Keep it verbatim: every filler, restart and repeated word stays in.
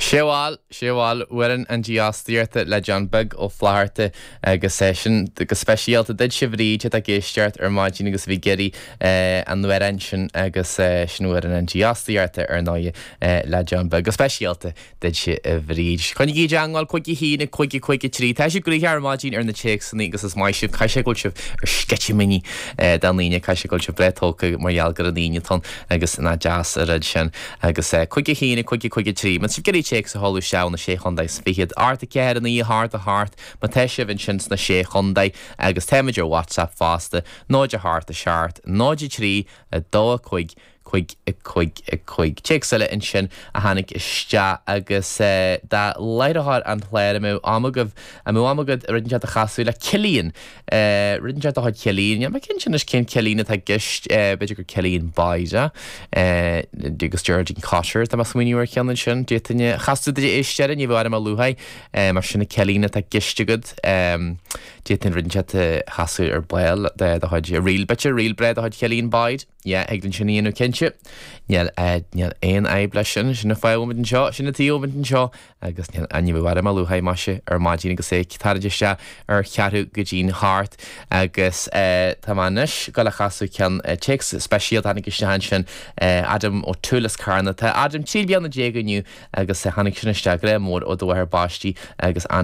Sé bhuel sé bhuel Amhrán an Dífhostaíochta le John Beag Ó Flatharta agus é sin go speisialta duitse a Bhríd atá ag éisteacht ar maidin agus bhí ag iarraidh an amhrán sin agus sin Amhrán an Dífhostaíochta ar ndóigh le John Beag go speisialta duitse a Bhríd. Coinnigí i dteagmháil cúig a haon cúig cúig trí Tá sibh gnoitheach ar maidin ar na téacsanna agus is maith sibh caithfidh sé go bhfuil sibh ar sceitimíní don Aoine caithfidh sé go bhfuil sibh breá tógtha mar gheall gur an Aoine atá ann agus nach deas an rud sin agus cúig a haon cúig cúig trí. Má tá sibh ag iarraidh téacs a sheoladh isteach na sé chontae is fichead. Ocht a ceathair naoi a hocht a hocht má tá sibh ansin sna sé chontae agus táimid ar WhatsApp fosta, náid a hocht a seacht, náid a trí a dó a cúig cúig a cúig a cúig. Téacs eile ansin a tháinig isteach agus do láithreoir an chláir an mbeadh am agaibh an mbeadh am agat rud inteacht a chasadh le Cillian. Rud inteacht de chuid Cillian, Níl mé cinnte anois cén Cillian atá i gceist b'fhéidir gur Cillian Boyd agus Geraldine Cotter tá mé ag smaoineamh ar cheann ansin d'fhéadfainn a chasadh duit éist air ní bheadh orm a lua mar sin Cillian atá i gceist agat d'fhéadfainn rud inteacht a chasadh ar ball de do chuid ríl b'fhéidir ríl breá de chuid Cillian Boyd. Yeah, thig linn sin a dhéanamh cinnte. Níl níl aon fhadhb leis sin sin an fáth a bhfuil muid anseo sin an tuige a bhfuil muid anseo agus níl ní bheadh orm a lua maise ar maidin agus é ag tarraingt isteach ar cheathrú go dtí'n hocht agus tá mé anois ag dul a chasadh ceann téacs speisialta tháinig isteach ansin Adam O'Toole as Carna. Tá Adam trí bliana déag inniu agus tháinig sin isteach grá mór ó do mháthair baistí agus